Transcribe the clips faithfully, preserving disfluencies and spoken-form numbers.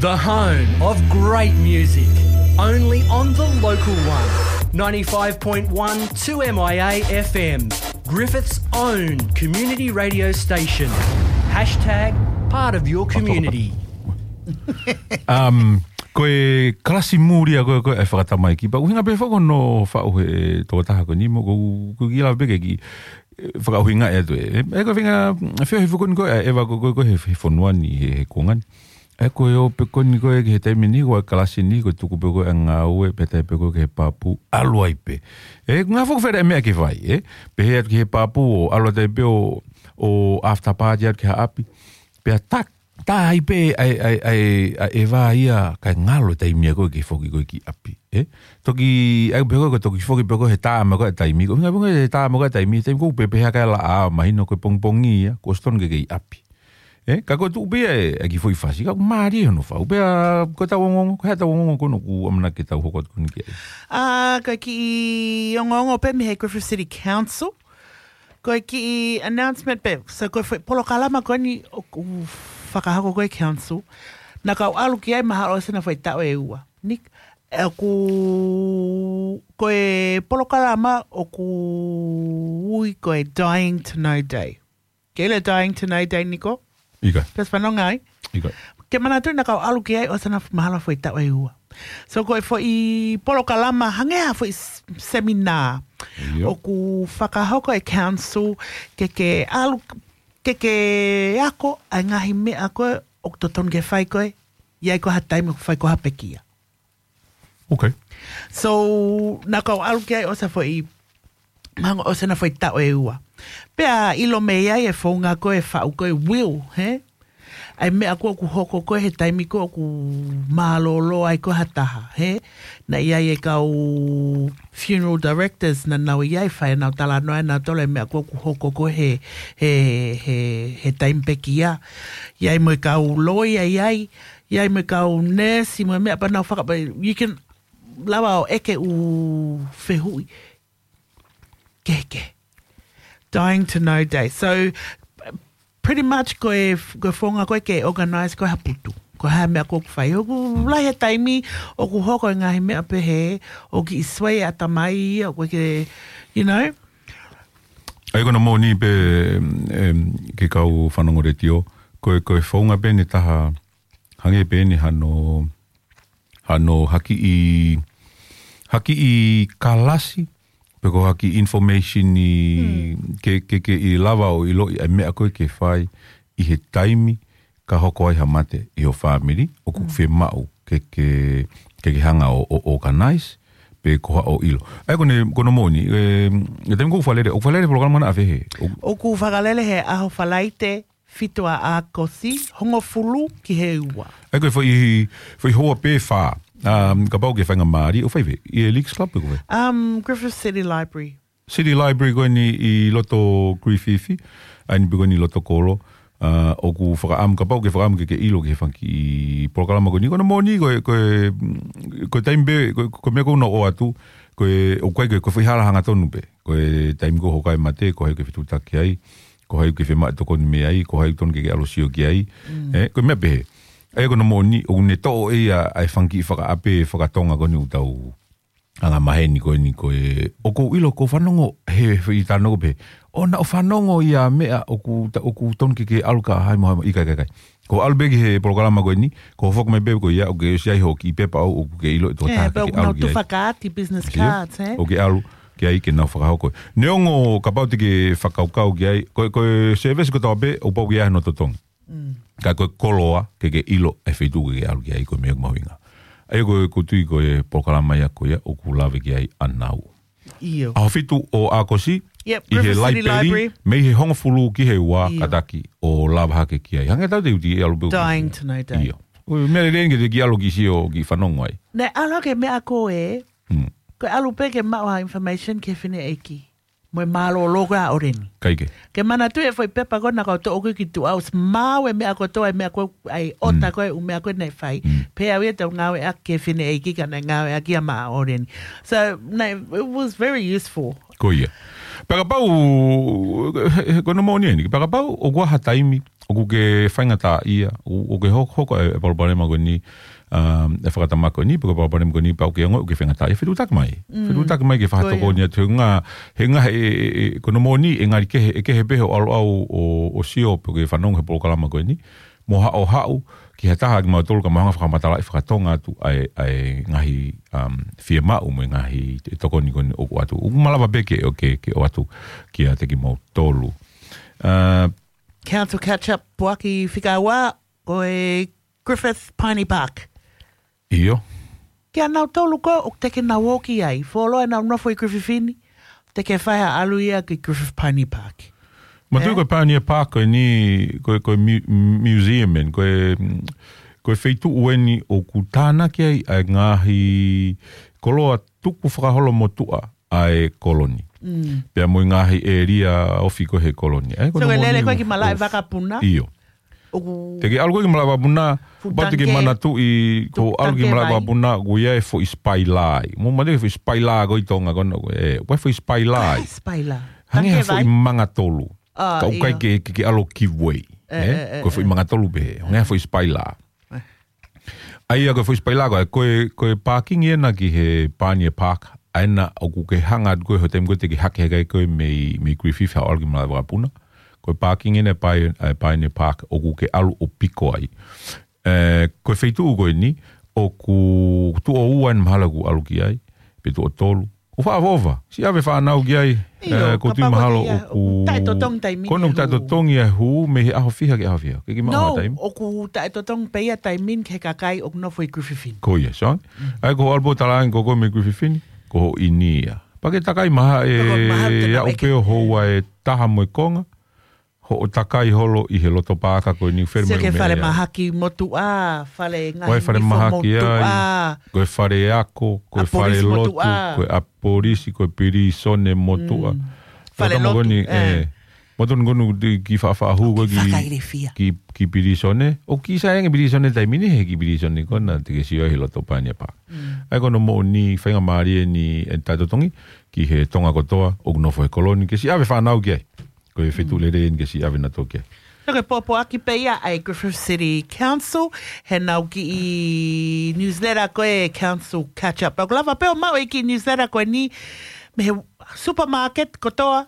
The home of great music, only on the local one. Ninety-five point one two M I A F M, Griffith's own community radio station. Hashtag part of your community. Um, ko e kalasi muli ia ko e, ko e fakatamaiki. Pea ʻuhinga pē foki hono faʻu he tokotaha ko eni mo ko, ko e kiʻi lave pē ke kiʻi, eh, fakaʻuhingaʻi atu ē. Eh, ko e feinga, feohi foki ko eni ko e, ʻeva ko, ko, ko e he, he fonua ni, he, he kuonga ni. Eh, ko e ō pē ko eni ko e ki he taimi ni, ko e kalasi ni, ko e tuku pē ko e ngāue, pea tae pē ko e ki he pāpū, ʻalu ai pē. Eh, ngā foki fere meʻa ke fai, eh? Pehē atu ki he pāpū ʻo ʻalu atu ai pē ʻo, ʻo after party atu ki ha ʻapi. Pea tak, tā ai pē ʻa e, ʻa e, ʻa e, ʻa e ʻeva ia kae ngalo e taimi ia ko e ke foki ko e ki ʻapi, eh? Toki, ʻai pē ko e, ko e toki foki pē ko e he taama ko e taimi, ko e ngā pē ko e he taama ko e taimi, taimi ko e pehē hake ʻa e laʻā, mahino ko e pongipongi ia, kuo ʻosi tonu ke ke ʻi ʻapi. Eh, ka ko e tuʻu pē ia e, e kiʻi foʻi fasi, ka ʻoku mālie hono faʻu, pea ko e tau ongoongo, ko e hā e tau ongoongo ko eni ʻoku ʻamanaki ke tau hoko atu ko eni ki ai. Ah, ko e kiʻi ongoongo pē mei he Griffith City Council, ko e kiʻi announcement pē, so ko e foʻi polokalama ko eni ʻoku fakahoko ko e council, naʻa ku ʻalu ki ai mahalo ʻosi ʻena foʻi taʻu ʻe ua. Nick, ʻoku, ko e polokalama ʻoku ui ko e Dying to Know Day. Ke ʻilo e Dying to Know Day, Niko? ʻIkai. Pea fanongo ai. ʻIkai. Ke manatu naʻa ku ʻalu ki ai ʻosi ʻena mahalo foʻi taʻu ʻe ua. So ko e foʻi polokalama hangē ha foʻi s-, seminā. ʻIo. ʻOku fakahoko e council ke ke ʻalu, ke ke ako ʻa e ngaahi meʻa ko ē ʻoku totonu ke fai ko ē, ʻi ai ko ha taimi ʻoku fai ko ha pekia. Okay. So, naʻa ku ʻalu ki ai ʻosi ʻena foʻi, mahalo ʻosi ʻena foʻi taʻu ʻe ua. Pea ʻilo mei ai e founga ko e faʻu ko e will, he? ʻA e meʻa ko ē ʻoku hoko ko ē he taimi ko ē ʻoku mālōlō ai ko ē ha taha, he? Naʻe ʻi ai e kau funeral directors naʻa nau ʻi ai fai ʻenau talanoa ʻe nautolu e meʻa ko ē ʻoku hoko ko ē he, he, he, he taimi pekia. ʻI ai mo e kau lawyer ʻi ai, ʻi ai mo e kau nurse, mo e meʻa pea nau faka-, you can lava ʻo ʻeke ʻū fehuʻi kehekehe. Dying to Know Day. So, pretty much ko e, ko e founga ko ē ke organize ko ē ha putu. Ko e hā e meʻa ko ē ʻoku fai. ʻOku lahi e taimi ʻoku hoko e ngaahi meʻa pehē, ʻoku kiʻi sway ʻatamai, ʻoku ke, you know? ʻA ia ko hono moʻoni pē, em, ki he kau fanongo letiō, ko e, ko e founga pē ʻeni ʻe taha, hangē pē ʻeni hano, hano ha kiʻi, ha kiʻi kalasi, pe ko ha kiʻi information ʻi Hmm. ke, ke, ke ʻi lava ʻo ʻiloʻi ʻa e meʻa ko ē ke fai ʻi he taimi ka hoko ai ha mate ʻi ho fāmili, ʻoku Hmm. fiemaʻu ke, ke, ke, ke hanga ʻo, ʻo organize, pe ko haʻo ʻilo. ʻA ia ko hono, ko hono moʻoni, e, e taimi ko ē ʻoku fakalele, ʻoku fakalele polokalama na ʻafē he? ʻO- ʻOku fakalele he ʻaho Falaite, fitu ʻa ʻAokosi, hongofulu ki he ua. ʻA ia ko e foʻi, foʻi houa pē fā. Um, kapau ke faingamālie, ʻoku fai fē? ʻI he Leagues Club pe ko fē? Um, Griffith City Library. City Library ko eni ʻi loto Griffith, ʻa eni pē ko eni ʻi loto kolo. Uh, ʻoku fakaʻamu, kapau ke fakaʻamu ke ke ʻilo ki he fanga kiʻi polokalama ko eni. Ko hono moʻoni, ko e, ko e, ko e taimi pē, ko e, ko e meʻa ko ē naʻa ku ʻoatu, ko e, ʻoku ʻikai ko e, ko e foʻi hala hangatonu pē. Ko e taimi ko ē ʻoku hoko ai e mate, ko hai ʻoku ke fetuʻutaki ai, ko hai ʻoku ke fiemaʻu e tokoni mei ai, ko hai ʻoku totonu ke ke ʻalu ʻo sio ki ai. Mm. Eh, ko e meʻa pehē. ʻA ia ko hono moʻoni, ʻoku ne toʻo ʻe ia ʻa e fanga kiʻi fakaʻape, fakatonga ko eni ʻoku tau anga maheni ko eni ko e, ʻoku ou ʻilo ʻoku fanongo, he, he ʻi tano ko pē. ʻO naʻa ku fanongo ia meʻa ʻoku ta-, ʻoku totonu ke ke ʻalu ka hai mo hai mo ʻikai, ʻikai, ʻikai. Ko e ʻalu pē ki he polokalama ko eni, ko e foki mai pē ko ia, ʻoku ke ʻosi ʻi ai hoʻo kiʻi pepa ʻoku ke ʻilo ʻe tō Eh, taha pea ke ʻoku ʻalu nau ki ai. Tufakati business Sio? cards, eh? ʻOku ke ʻalu ki ai ke nau fakahoko. Neongo kapau te ke fakakaukau ki ai, ko, ko e service kotoa pē, ʻoku pau ke ʻi ai hono totongi. Mm. Ka ko e koloa, ke ke ʻilo e feituʻu ke ke ʻalu ki ai ko e meʻa ʻoku mahuʻinga. ʻA ia ko e, ʻoku ou tui ko e polokalama ia ko ia, ʻoku lave ki ai ʻanau. ʻIo. ʻAho fitu ʻo ʻAokosi, Yep, ʻi he Griffith City Library, Library. Mei he hongofulu ki he ua ʻIo. kātaki ʻo lava hake ki ai. Hangē tau te uti e ʻalu pē. Dying to Know Day. ʻIo. Ko e meʻa lelei eni ke te kiʻi ʻalu kiʻi sio kiʻi fanongo ai. Naʻe ʻalu ke meʻa ko ē, Hmm. ko e ʻalu pē ke maʻu ha information ki he fineʻeiki. Mo e mālōlō ko ē ʻa ʻOleni. ʻIkai ke. Ke manatu e foʻi pepa ko ē naʻa ku toʻo ko ē ki tuʻa, ʻosi maau e meʻa kotoa, e meʻa ko ē, ʻa e ʻota Mm. ko ē, ʻū meʻa ko ē naʻe fai. Mm. Pea ʻoku ʻikai te u ngāueʻaki ki he fineʻeiki ka naʻe ngāueʻaki ia maʻa ʻOleni. So, naʻe, it was very useful. Ko ia. Pea kapau, ko hono moʻoni eni, pea kapau ʻoku ʻi ai ha taimi, ʻoku ke faingataʻaʻia, ʻoku, ʻoku ke hoko, hoko e, e palopalema ko eni, um, e fakatamaki ko eni, pe ko e palopalema ko eni, pea ʻoku ke ongoʻi ʻoku ke faingataʻaʻia, fetuʻutaki mai. Mm. Fetuʻutaki mai ke Ko ia. fakatokoni atu, he ʻuhinga, he ʻuhinga he, e, e, e, ko hono moʻoni, ʻe ngali kehe, ʻe kehe pē hoʻo ʻalu ʻo, ʻo, ʻo sio, pe ko e fanongo he polokalama ko eni, mo haʻu, haʻu, ki ha taha ʻiate kimautolu ka mau hanga ʻo fakamatalaʻi fakatonga atu ʻa e, ʻa e ngaahi, um, fiemaʻu mo e ngaahi tokoni ko eni ʻoku ʻoatu. ʻOku malava pē ke, ʻo ke, ke ʻoatu kiate kimautolu. Uh, Council catch-up, puaki fika ua, ko e Griffith Piney Park. ʻIo. Kia nautolu ko ē ʻoku teʻeki ke nau ō ki ai, fuoloa ʻenau nofo ʻi Griffith ni, teʻeki ke fai ha ʻalu ia ki Griffith Piney Park. Mo tui Eh? ko e Pioneer Park ko eni, ko e, ko e mu-, museum eni, ko e, mm, ko e feituʻu eni ʻoku tānaki ai ʻa e ngaahi koloa tukufakaholo motuʻa ʻa e koloni. Mm. Pea mo e ngaahi ʻēlia ofi ko ē he koloni. ʻA ia ko So, hono ke lele moʻoni ko ē ki ʻoku Malaʻe ʻoku Vakapuna. ʻIo. ʻOku Te ke ʻalu ko ē ki Malaʻe Vakapuna, Fuʻu pea te ke tanke. manatuʻi ko Fuʻu ʻalu ki tanke Malaʻe vai. Vakapuna, ʻoku ʻi ai e foʻi spaila ai. Mo mate foʻi spaila ko ē ʻi Tonga ko ena, ē, ʻoku ʻi ai e foʻi spaila ai. Ai, spaila. Hangē ha Tanke foʻi vai. manga tolu. Ah, Ka ʻoku ʻikai ʻio. ke, ke, ke ʻalu ki vai. Eh, Eh, eh, eh, ko e foʻi eh. manga tolu pē. Hangē ha foʻi spaila. Eh. ʻA ia ko e foʻi spaila ko ē, ko e, ko e parking ena ki he Pioneer Park, ʻa ena ʻoku ke hanga atu ko ē he taimi ko ē te ke hake hake ko ē mei, mei Griffith haʻu ʻalu ki Malaʻe Vakapuna. Ko e parking ena ʻa e Pio-, ʻa e Pioneer Park ʻoku ke ʻalu ʻo piko ai. Eh, ko e feituʻu ko eni, ʻoku tuʻo ua eni mahalo ʻoku ʻalu ki ai, pe tuʻo tolu. ʻOku fakaʻofoʻofa, siʻi ʻave fānau ki ai, ʻIo, eh, ʻoku ou tui kapau mahalo ko ia, ʻoku ʻoku taʻetotongi taimi ko ena ʻoku taʻetotongi e hū mei he ʻaho fiha ki he ʻaho fiha. Ke ke maʻu No, ha taimi. ʻoku taʻetotongi pē ia taimi ni ki he kakai ʻoku nofo ʻi Griffith ni. Ko ia, Sean. Mm. ʻA ia ko hoʻo ʻalu pē ʻo talaange ko koe mei Griffith ni, ko hoʻo ʻinia. Pea ke takai mai ha e Pea ko mahalo te aʻu pau pē ʻo ʻeke. houa ʻe taha mo e konga, hoʻo takai holo ʻi he loto paaka ko eni fele Sio mai ki he fale meʻa. mahaki motuʻa, fale Ko e ngaahi fale nifo mahaki motuʻa. ai, ko e fale ako, ko e ʻApolisi fale lotu, motuʻa. ko e ʻapolisi, ko e pilīsone motuʻa. Mm. Ko Fale e tama lotu, ko eni, eh. eh, mo tonu ko eni ki faʻafaʻahu ko ē ki, Fakailifia. ki, ki pilīsone. ʻOku kiʻi sai ange pilīsone taimi ni, he kiʻi pilīsone ko ena te ke sio ai he loto Pioneer Park. Mm. ʻA ia ko hono moʻoni faingamālie eni e taʻetotongi, ki he Tonga kotoa, ʻoku nofo he koloni, ke siʻi ʻave fānau ki ai. Ko e feituʻu Mm. lelei eni ke siʻi ʻave nautolu ki ai. So ko e pōpoaki pē ia ʻa e Griffith City Council, heʻenau kiʻi newsletter ko e Council Catch Up. Pea ʻoku lava pē ʻo maʻu e kiʻi newsletter ko eni mei he supermarket kotoa.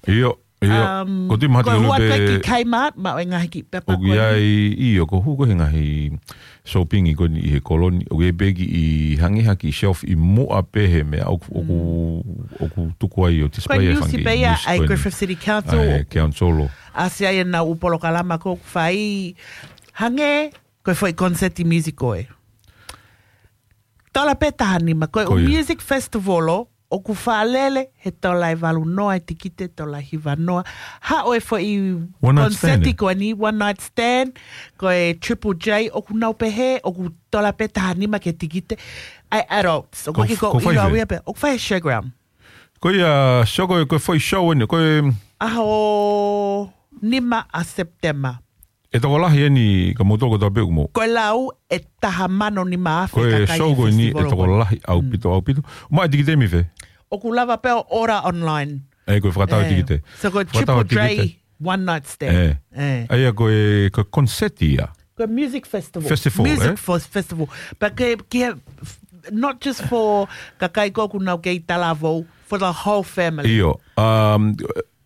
ʻIo, ʻio. Um, Ko e tui mahalo ko e te ke hū atu pē ki Kmart, maʻu e ngaahi kiʻi pepa ʻoku ko eni. ʻi ai, ʻio, ko e hū ko ē he ngaahi shopping ko eni ʻi he koloni, ʻoku ʻi ai pē kiʻi hangē ha kiʻi shelf ʻi muʻa pē he meʻa ʻoku, ʻoku, Mm. ʻoku tuku ai ʻo Ko e display e niusi fanga pē ia niusi ʻa e ko eni. Griffith City Council, ʻA e ʻoku council. ʻasi ai ʻenau ʻū polokalama ʻoku fai hangē ko e foʻi concert music ko ē. Tola pē taha nima, ko e Ko ʻū ia. music festival ʻoku fakalele he tola ʻe valu noa e tikite, tola ʻe hiva noa. Haʻu e foʻi One night stand, konseti eh? ko eni, one night stand, ko e Triple J, ʻoku nau pehē, ʻoku tola pē taha nima ki he tikite. ʻA e adults, ʻoku Ko ʻikai ke f-, ko ko fai ʻilo fē? au ia pē, ʻoku fai he showground. Ko ia, show ko, ko e foʻi show eni, ko e ʻAho nima ʻa Sepitema. ʻE tokolahi eni ka mou toko tape ʻoku mou. Ko e lau ʻe taha mano nima afe Ko e kakai show he ko eni festival ʻe ko eni. tokolahi ʻaupito, Mm. ʻaupito. Maʻu e tikite mei fē? ʻOku lava pē ʻo order online. ʻE, ko e fakatau e Eh. tikite. So ko e Fakatau e Triple J tikite. one night stand. Eh. Eh. ʻA ia ko e, ko e konseti ia. Ko e music festival. Festival, Music eh? fos-, festival. But ke, ke, not just for kakai ko ē ʻoku nau kei talavou, for the whole family. ʻIo. Um,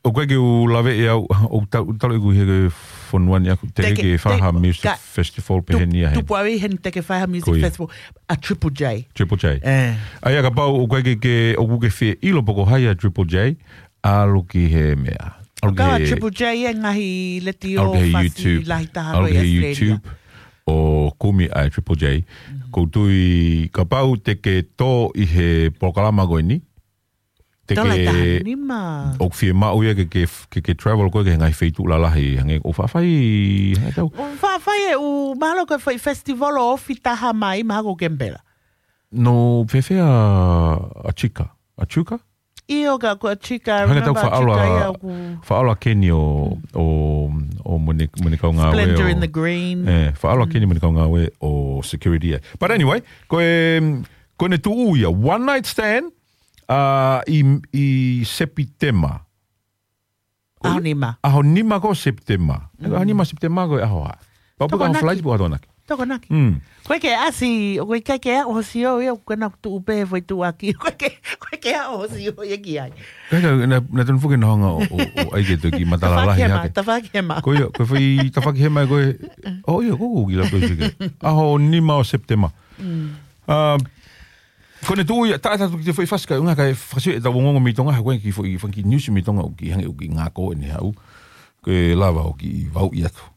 ʻoku ʻikai ke u lave ʻe au, ʻoku ta-, ʻoku tala ʻeku ʻi he fonua ni ʻaku, te Te ke, ke fai te, ha music ka, festival pē tu-, heni ʻa heni. tupu au ʻi heni te ke fai ha music Ko ia. festival, ʻa Triple J. Triple J. Eh. ʻA ia kapau ʻoku ʻikai ke, ke, ʻoku ke fie ʻilo pe ko hai ʻa Triple J, ʻalu ki he meʻa. ʻAlu ki Kau ʻa he, Triple J e ngaahi letiō ʻalu ki he fasi YouTube. lahi taha ʻAlu ko ē ki he ʻi Australia. YouTube ʻo kumi ʻa Triple J. Mm. ʻOku ou tui kapau te ke tō ʻi he polokalama ko eni, Te Tola ke taha nima. ʻOku fiemaʻu ia ke, ke, ke, ke travel ko ē ki he ngaahi feituʻu lalahi, hangē ʻoku faʻa fai, hangē tau. ʻOku faʻa fai e ʻū, mahalo ko e foʻi festival ʻo ofi taha mai, mahalo ko Kemipela. No, fēfē ʻa, ʻa Chika? ʻA Chuka? ʻIo ka ko Chika, Hangē tau remember faʻa ʻalu Chika ʻa, ia ʻoku faʻa ʻalu ʻa Keni ʻo, Mm. ʻo, ʻo mo ʻene, mo ʻene kau ngāue Splendor ʻo in the Green. Eh, faʻa ʻalu ʻa Mm. Keni mo ʻene kau ngāue ʻo security ai. But anyway, ko e, ko ʻene tuʻu ia, one night stand, ʻa, ʻi, ʻi Sepitema. ʻAho nima. ʻAho nima ko Sepitema. ʻAho nima Sepitema ko e ʻaho ʻa. Pau pē ko e ʻaho Falaite pe ko e ʻaho Tokonaki. Tokonaki. Mm. Ko e ke asi, ko e ke ke ʻaho sio ia, ko e na tuʻu pē foʻi tuʻaki. Ko e ke, ko e ke ʻaho sio ia ki ai. Ka, ka, na, na tonu foki na hanga ʻo, ʻo, ʻo ʻai ke toki matala lahi hake. Tafaʻaki hema, tafaʻaki hema. Ko ia, ko e foʻi tafaʻaki hema ko e. ʻO ia, ko u ki la pē sike. ʻAho nima ʻo Sepitema. Mm. Ah, ko ʻene tuʻu ia, taʻe tatu ki te foʻi fasi ka unga ka e fasi e tau ongo mei Tonga, ha ko e ki foʻi fanga kiʻi news mei Tonga ʻoku hangē ʻoku ngako ʻene haʻu. Ko e lava ʻo kiʻi vau ʻi atu.